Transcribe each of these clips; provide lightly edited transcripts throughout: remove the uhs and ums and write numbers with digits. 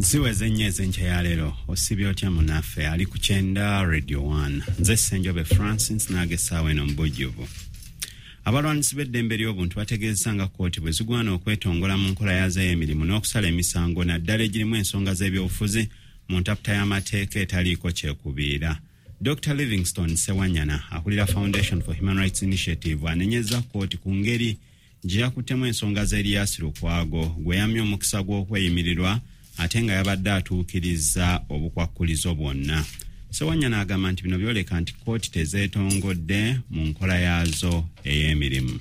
Ziweze ennyo ez'enkya ya leero. Osibye otya munaffe ali ku Kyenda Radio 1? Nze Ssenjobe Francis, naaga essaawa eno mu bujjuvu. Abalwanisi b'eddembe ly'obuntu bategeezesa nga kkooti bwe zigwana okwetongola mu nkola yaazo ey'emirimu n'okusala emisango, naddala egirimu ensonga z'ebyobufuzi, mu ntaputa y'amateeka etaliiko kyekubiira. Dr Livingstone Sewanyana, akulira Foundation for Human Rights Initiative, anenyezza kkooti ku ngeri gye yakuttemu ensonga za Erias Lukwago, gwe yammye omukisa gw'okweyimirirwa ate nga yabadde atuukiriza obukwakkulizo bwonna. Sewanyana agamba nti bino byoleka nti kkooti tezeetongodde mu nkola yaazo ey'emirimu.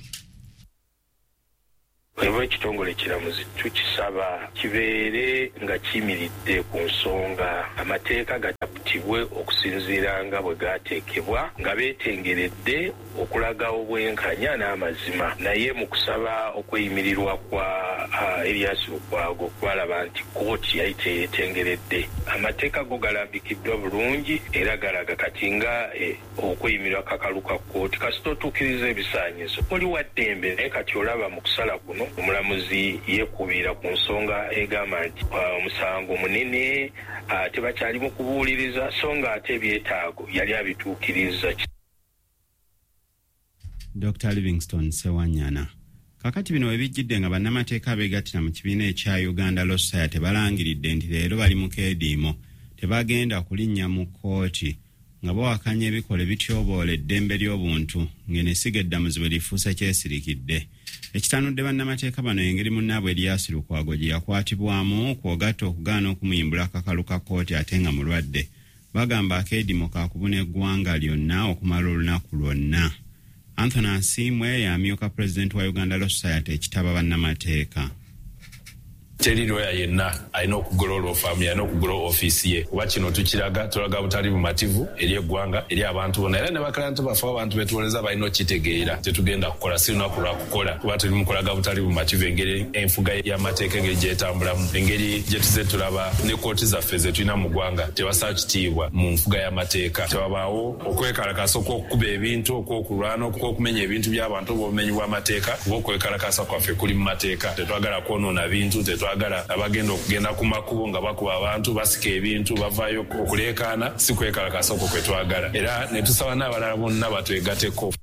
Eba ekitongole ekiramuzi tukisaba kibeere nga kiyimiridde ku nsonga, amateeka gataputibwe okusinziira nga bwe gaateekebwa nga beetengeredde okulaga obwenkanya n'amazima. Naye mu kusaba okweyimirirwa kwa Erias Lukwago twalaba nti kkooti yali teyeetengeredde. Amateeka go galambikiddwa bulungi era galaga kati nga okweyimirirwa kakalu ka kkooti, kasita otuukiriza ebisaanyizo oli wa ddembe. Naye kati olaba mu kusala kuno omulamuzi yeekubiira ku nsonga egamba nti omusango munene, tebakyali mu kubuuliriza, so nga ate ebyetaago yali abituukirizza. Dr Livingstone Sewanyana. Kakati bino we bijjidde nga bannamateeka abeegattira mu kibiina ekya Uganda Law Society balangiridde nti leero bali mu keediimo, tebagenda kulinnya mu kkooti, nga bawakanya ebikolwa ebityoboola eddembe ly'obuntu ng'eno essiga eddamuzi bwe lifuuse kyesirikidde. Ekitanudde bannamateeka bano engeri munnaabwe Erias Lukwago gye yakwatibwamu, kw'ogatta okugaana okumuyimbula akakalu ka kkooti ate nga mulwadde. Bagamba akeediimo kaakubuna eggwanga lyonna okumala olunaku lwonna. Anthony Asiimwe y'amyuka pulezidenti wa Uganda Law Society ekitaba bannamateeka. Teri lawyer yenna alina okugula law firm ye, alina okugula ofiisi ye, kuba kino tukiraga, tulaga butali bumativu eri eggwanga, eri abantu bonna, era ne baklayenti baffe, abantu betuwoleza balina okukitegeera. Tetugenda kukola, si lunaku lwa kukola, kuba tuli mu kulaga butali bumativu engeri enfuga y'amateeka engeri gyetambulamu, engeri gye tuze tulaba ne kkooti zaffe ze tulina mu ggwanga tebassa kitiibwa mu nfuga y'amateeka. Tewabaawo okwekalakaasa okw'okukuba ebintu, okw'okulwana, okw'okumenya ebintu by'abantu oba obumenyi bw'amateeka, kuba okwekalakaasa kwaffe kuli mu mateeka. Tetwagala kwonoona bintu, tetwagala abagenda okugenda ku makubo nga bakuba abantu, basika ebintu, bavaayo okuleekaana. Si kwekalakaasa okwo kwe twagala, era ne tusaba n'abalala bonna batwegateko.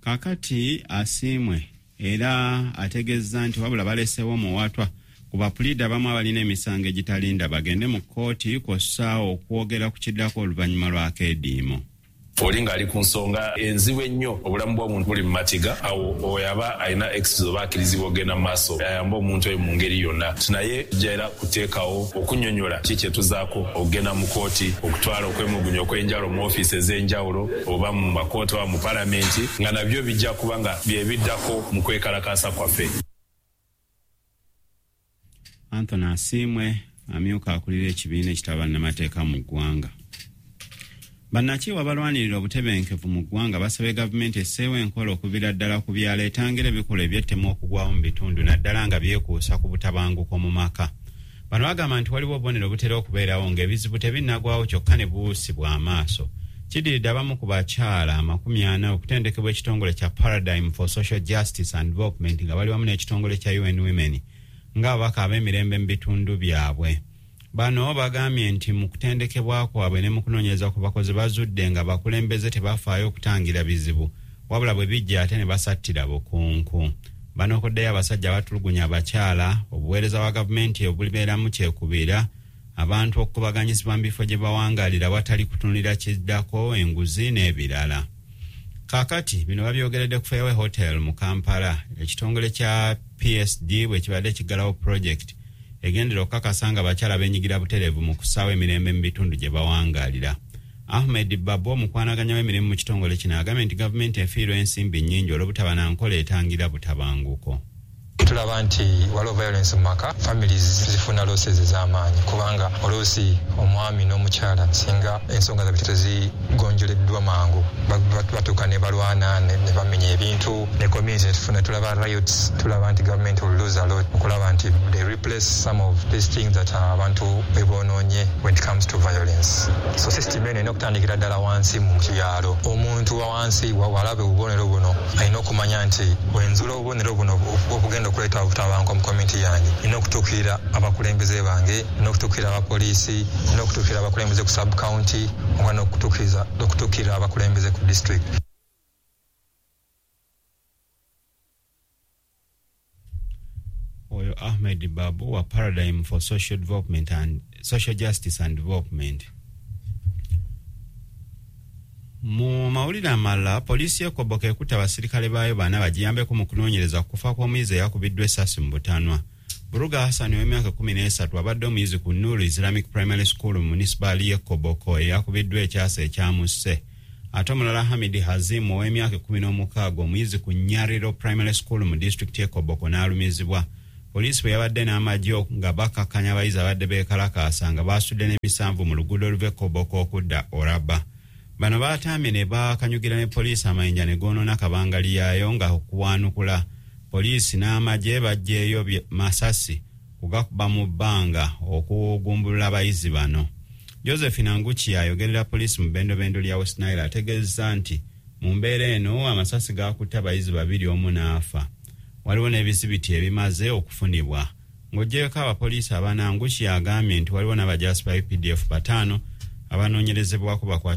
Kakati Asiimwe era ategeezza nti wabula baleseewo omuwaatwa ku bapuliida abamu abalina emisango egitalinda bagende mu kkooti, kw'ossa okwogera ku kiddako oluvannyuma lw'akeediimo. Oli ng'ali ku nsonga enzibu ennyo, obulamu bw'omuntu buli mu matiga, awo oyo aba alina excuse oba akkirizibwa okugenda mu maaso ayambe omuntu oyo mu ngeri yonna. Naye tujja era kuteekawo okunnyonnyola ki kye tuzaako okugenda mu kkooti, okutwala okwemulugunya okw'enjawulo mu ofiisi ez'enjawulo oba mu makooti oba mu palamenti, nga nabyo bijja kuba nga bye biddako mu kwekalakaasa kwaffe. Anthony Asiimwe amyuka akulira ekibiina ekitaba bannamateeka mu ggwanga. Bannakyewa balwanirira obutebenkevu mu ggwanga basabye gavumenti esseewo enkola okuviira ddala ku byalo etangira ebikolwa eby'ettemu okugwawo mu bitundu, naddala nga byekuusa ku butabanguko mu maka. Bano bagamba nti waliwo obubonero butera okubeerawo ng'ebizibu tebinnagwawo kyokka ne buusibwa amaaso. Kiddiridde abamu ku bakyala 40 okutendekebwa ekitongole kya Paradigm for Social Justice and Development nga bali wamu n'ekitongole kya UN Women ng'ababaka ab'emirembe mu bitundu byabwe. Bano bagambye nti mu kutendekebwa kwabwe ne mu kunoonyereza ku bakozi bazudde nga bakulembeze tebafaayo okutangira bizibu, wabula bwe bijja ate ne basattira bukunku. Banokoddeyo abasajja abatulugunya abakyala, obuweereza bwa gavumenti obulibeeramu kyekubiira, abantu okukubaganyizibwa mu bifo gye bawangalira watali kutunulira kiddako, enguzi n'ebirala. Kaakati bino babyogeredde ku Fairway Hotel mu Kampala, ekitongole kya PSD bwe kibadde kiggalawo project egendera okukakasa nga abakyala beenyigira butereevu mu kussaawo emirembe mu bitundu gye bawangalira. Ahmed Babu, omukwanaganya w'emirimu mu kitongole kino, agambye nti gavumenti efiirwa ensimbi nnyingi olw'obutaba na nkola etangira butabanguko. Tulaba nti waliwo violence mu maka, families zifuna losses ez'amaanyi, kubanga oluusi omwami n'omukyala singa ensonga zaabwe tezigonjoleddwa mangu, batuuka ne balwana ne bamenya ebintu ne community netufuna, tulaba riots. Tulaba nti government will lose a lot okulaba nti they replace some of these things that abantu bebonoonye when it comes to violence. So system eno erina okutandikira ddala wansi mu byalo. Omuntu wa wansi walaba obubonero buno alina okumanya nti wenzula obubonero buno obugenda okuleeta obutabanguko mu community yange, nina okutuukirira abakulembeze bange, nina okutuukirira abapoliisi, nina okutuukirira abakulembeze ku sub county, oba n'okutuukirira abakulembeze ku district. Oyo Ahmed Babu wa Paradigm for Social Development and Social Justice and Development. Mu mawulire amalala, poliisi y'e Koboko ekutte abasirikale baayo bana bagiyambeko mu kunoonyereza ku kufa kw'omuyizi eyakubiddwa essasi mu butanwa. Buruga Hassan ow'emyaka 13 abadde omuyizi ku Nuru Islamic Primary School mu munisipaali y'e Koboko eyakubiddwa ekyasa ekyamusse. Ate omulala Hamidi Hazim ow'emyaka 16 omuyizi ku Nyariro Primary School mu disitulikiti y'e Koboko n'alumizibwa. Poliisi bwe yabadde n'amagye nga bakakkanya abayizi abadde beekalakaasa nga baasudde n'emisanvu mu luguudo oluva e Koboko okudda Oraba. Bano baatambye ne bakanyugira ne poliisi amayinja ne goonoona kabangali yaayo nga okuwanukula poliisi n'amagye baggyeeyo masasi kugakuba mu bbanga okugumbulula abayizi bano. Josephine Anguki ayogerera poliisi mu bendobendo lya West Nile ategeezezza nti mu mbeera eno amasasi gaakutte abayizi 2 omu n'afa. Waliwo n'ebizibiti ebimaze okufunibwa. Ng'oggyeko abapoliisi abana, Anguki agambye nti waliwo n'abajaasi ba UPDF 5 abanoonyerezebwako bakwatibwa.